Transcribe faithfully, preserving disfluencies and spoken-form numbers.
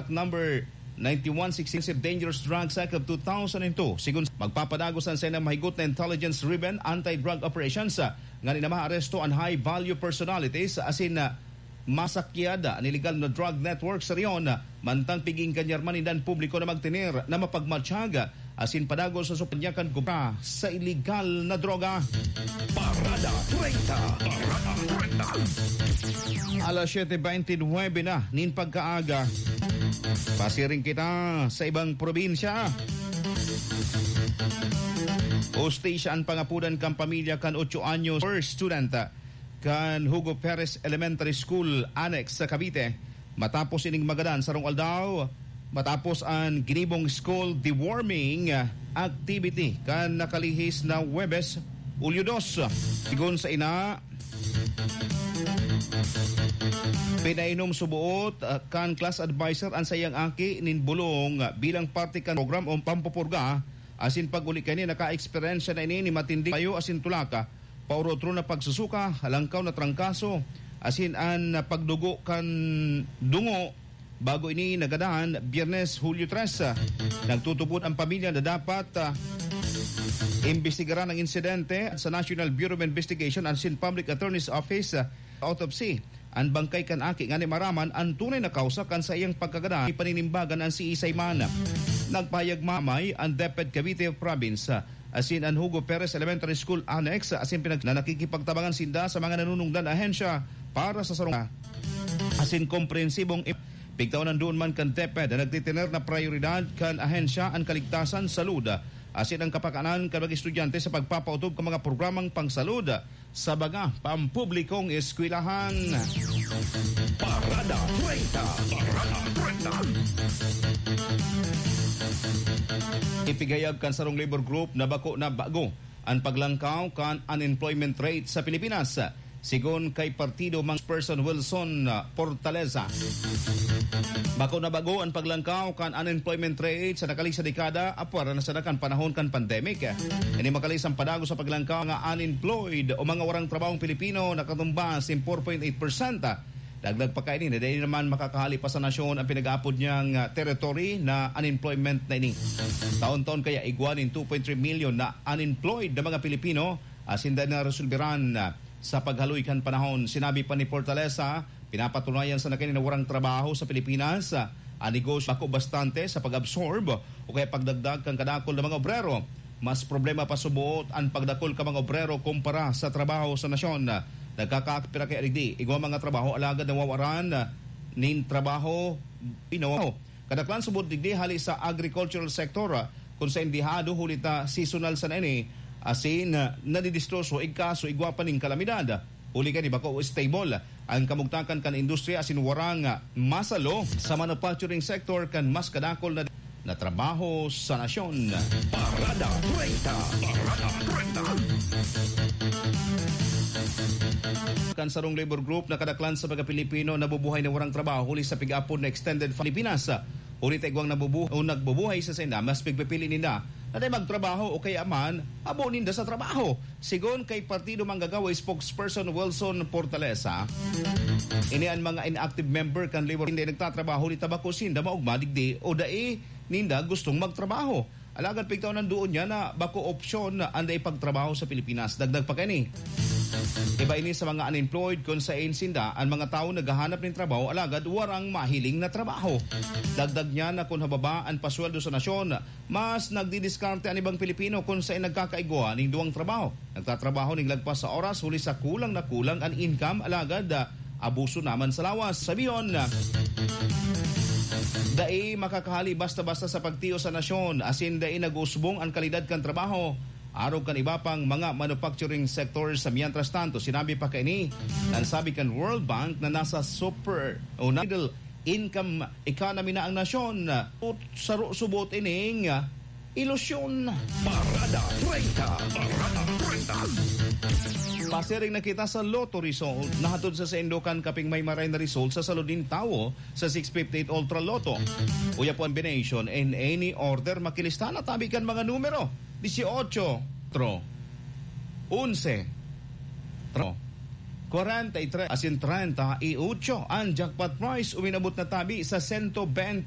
number ninety-one sixteen dangerous drugs Act of two thousand and two. Sigun magpapadagos an sainang mahigot na intelligence-driven anti-drug operations, ah, ngani na maaresto an high-value personalities asin, ah, masakyad an iligal na drug network sa rehiyon, ah, mantang pig-iinganyar man ninda an publiko na magtener na mapagmatsyag, ah, asin padagos sa supanyakan kumpra sa iligal na droga. Parada treinta. Parada treinta. Alas siete veintinuebe na nin pagkaaga. Pasiring kita sa ibang probinsya. Hustisya an pangapodan kan pamilya kan otso anyos first student kan Hugo Perez Elementary School Annex sa Cavite. Matapos ining magadan sarong aldaw, matapos an ginibong school deworming activity kan nakalihis na Huwebes, Hulyo dos. Sigon sa ina, pinainom suboot, ah, kan class adviser an saiyang aki nin bulong, ah, bilang parte kan program o pampupurga, asin pag-uli kaini, naka-eksperyensya na ini ni matinding payo asin tulaka, paorotro na pagsusuka, halangkaw na trangkaso, asin an pagdugo kan dungo. Bago ini nagadan, Biyernes, Hulyo tres, ah, nagtutubod ang pamilya na dapat, ah, imbestigaran ang insidente sa National Bureau of Investigation asin Public Attorney's Office, ah, autopsy an bangkay kan aki ngani maraman an tunay na kausa kan saiyang pagkagadan. Ipaninimbagan an siisay man. Nagpahayag mamay an DepEd Cavite Province, ah, asin an Hugo Perez Elementary School Annex, asin pinag-, na nakikipagtabangan sinda sa mga nanunungdan ahensya para sa sarong asin komprehensibong im-, pigtaon ang doon man kan DepEd na nagtitiner na prayoridad kan ahensya an kaligtasan, salud, asin ang kapakanan kan mga estudyante sa pagpapaotob kan mga programang pangsalud sa mga pampublikong eskwelahan. Parada treinta. Parada treinta. Ipigayag kan sarong labor group na bako na bago an paglangkaw kan unemployment rate sa Pilipinas. Sigon kay Partido Mang Person Wilson, ah, Portaleza, bako na bago an paglangkaw kan unemployment rate sa nakaligsa dekada, apwera na sana kan panahon kan pandemic. Ini makalisang padago sa paglangkaw nga unemployed o mga warang trabahong Pilipino nakatumba sin four point eight percent. Dagdag pa kaini na dai naman makakahali pa sa nasyon ang pinag-aapod niyang, ah, territory na unemployment na ini. Taon-taon kaya igwa nin two point three milyon na unemployed na mga Pilipino asin dai na resolberan, ah, sa paghaloy kan panahon. Sinabi pa ni Portaleza, pinapatunayan sana kaini na warang trabaho sa Pilipinas, ah, ang negosyo bako bastante sa pag-absorb o kaya pagdagdag kan kadakul na mga obrero. Mas problema pa suboot an pagdakul kan mga obrero kumpara sa trabaho sa nasyon. Nagkakaapira kaya digdi, igwa mga trabaho alagad nawawaran nin trabaho, pinawaw. Kadaklan suboot digdi hali sa agricultural sector, kun saindihado huli ta seasonal sana ini, asin nadidistroso igkaso igwa pa nin kalamidad. Huli kan iba ko stable ang kamugtakan kan industriya asin warang masalo sa manufacturing sector kan mas kadakol na, na trabaho sa nasyon. Parada treinta. Parada treinta. Kan sarong labor group na kadaklan sa mga Pilipino nabubuhay na warang trabaho huli sa pig-apod na extended Pilipinas. Huli ta igwang nabubu-, o nagbubuhay sa sainda, mas pigpipili ninda na dai magtrabaho o kaya man abo ninda sa trabaho. Sigon kay Partido Manggagawa spokesperson Wilson Portalesa, ini an mga inactive member kan labor, hindi nagtatrabaho, ni tabako sinda maugma digdi o dai ninda gustong magtrabaho. Alagad pigtaw nandoon niya na bako opsyon na an dai pagtrabaho sa Pilipinas. Dagdag pa kani, iba ini sa mga unemployed kun sain sinda an mga tawo naghahanap nin trabaho alagad warang mahiling na trabaho. Dagdag niya na kun hababa an pasweldo sa nasyon, mas nagdidiskarte an ibang Pilipino kun sain nagkakaigwa ning duwang trabaho. Nagtatrabaho ning lagpas sa oras huli sa kulang na kulang an income, alagad, ah, abuso naman sa lawas. Sabihon, dai makakahali basta-basta sa pagtios sa nasyon, asin dai nag-usbong an kalidad kan trabaho arog kan iba pang mga manufacturing sector. Sa mientras tanto, sinabi pa kaini, nan sabi kan World Bank na nasa super o na middle income economy na ang nasyon. Ut-, saro-, subot ining, ah, ilusyon. Parada treinta. Parada treinta. Pasiring na kita sa Lotto result. Nahatod sa saindo kan kaping may maray na result sa salud nin tawo sa six fifty-eight Ultra Lotto. Uya po ang combination in any order makilista na tabi kan mga numero: dieciocho, tro, onse, tro, kwarenta y tres, asin treinta y ocho. Ang jackpot prize uminabot na tabi sa sento bente